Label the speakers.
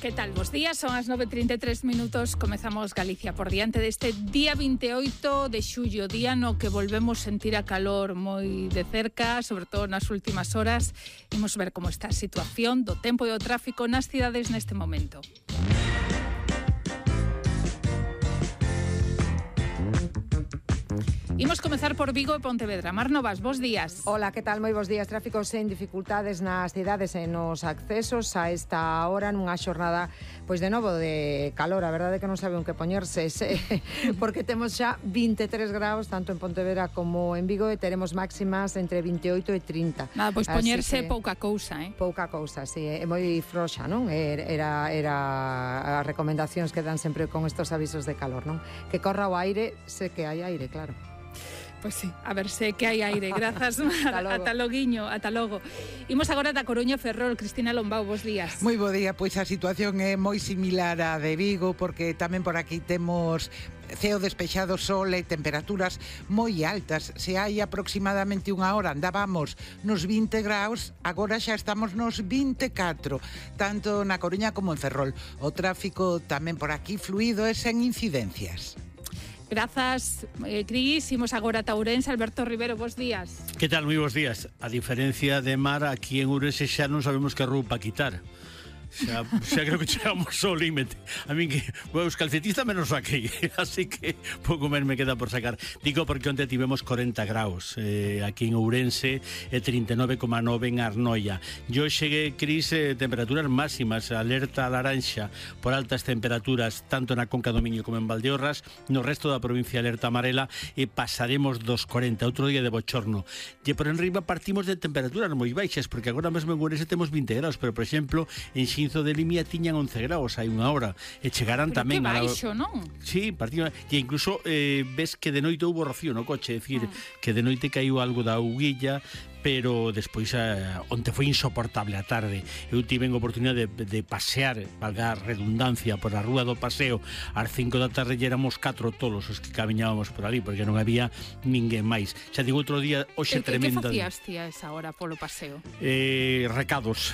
Speaker 1: Que tal? Bos días, son as 9:33 minutos. Comezamos Galicia por diante deste día 28 de xullo, día no que volvemos sentir a calor moi de cerca, sobre todo nas últimas horas. Imos ver como está a situación do tempo e do tráfico nas cidades neste momento. Imos comezar por Vigo e Pontevedra. Mar Novas, bos días.
Speaker 2: Hola, que tal? Moi bos días. Tráfico sen dificultades nas cidades e nos accesos a esta hora nunha xornada, pois de novo, de calor. A verdade é que non sabe un que poñerse, porque temos xa 23 graus, tanto en Pontevedra como en Vigo, e teremos máximas entre 28 e 30.
Speaker 1: Nada, pois poñerse pouca cousa,
Speaker 2: Pouca cousa, sí, é moi froxa, non? Era as recomendacións que dan sempre con estos avisos de calor, non? Que corra o aire, sé que hai aire, claro.
Speaker 1: Pois sí, a ver se que hai aire. Grazas, ata loguiño, ata logo. Imos agora da Coruña Ferrol. Cristina Lombao, bos días.
Speaker 3: Moi bo día, pois a situación é moi similar á de Vigo, porque tamén por aquí temos ceo despexado, sol e temperaturas moi altas. Se hai aproximadamente unha hora andábamos nos 20 graus, agora xa estamos nos 24, tanto na Coruña como en Ferrol. O tráfico tamén por aquí fluido e sen incidencias.
Speaker 1: Grazas, Cris. Imos agora a Ourense. Alberto Rivero, bos días.
Speaker 4: Que tal? Moi bos días. A diferencia de Mar, aquí en Ourense xa non sabemos que roupa quitar. Xa creo que chegamos ao límite. A min que os calcetistas menos aquí, así que pouco menos me queda por sacar. Digo porque onte tivemos 40 graus aquí en Ourense e 39,9 en Arnoia. Yo cheguei, Cris, temperaturas máximas, alerta laranxa por altas temperaturas tanto na Conca do Miño como en Valdeorras. No resto da provincia alerta amarela e pasaremos dos 40, outro día de bochorno. E por enriba partimos de temperaturas moi baixas, porque agora mesmo en Ourense temos 20 graus, pero por exemplo en Xinzo de Limia tiñan 11 graus hai unha hora e chegarán
Speaker 1: pero
Speaker 4: tamén
Speaker 1: que baixo, non?
Speaker 4: Sí, partido, e incluso ves que de noite houbo rocío no coche, é dicir, que de noite caiu algo da auguilla, pero despois onte foi insoportable a tarde. Eu tive a oportunidade de pasear, valga a redundancia, por a rúa do Paseo ás 5 da tarde e éramos 4 tolos os que camiñábamos por ali, porque non había ninguén máis. Xa digo, outro día, hoxe tremenda.
Speaker 1: Que facías ti a esa hora polo paseo?
Speaker 4: Recados.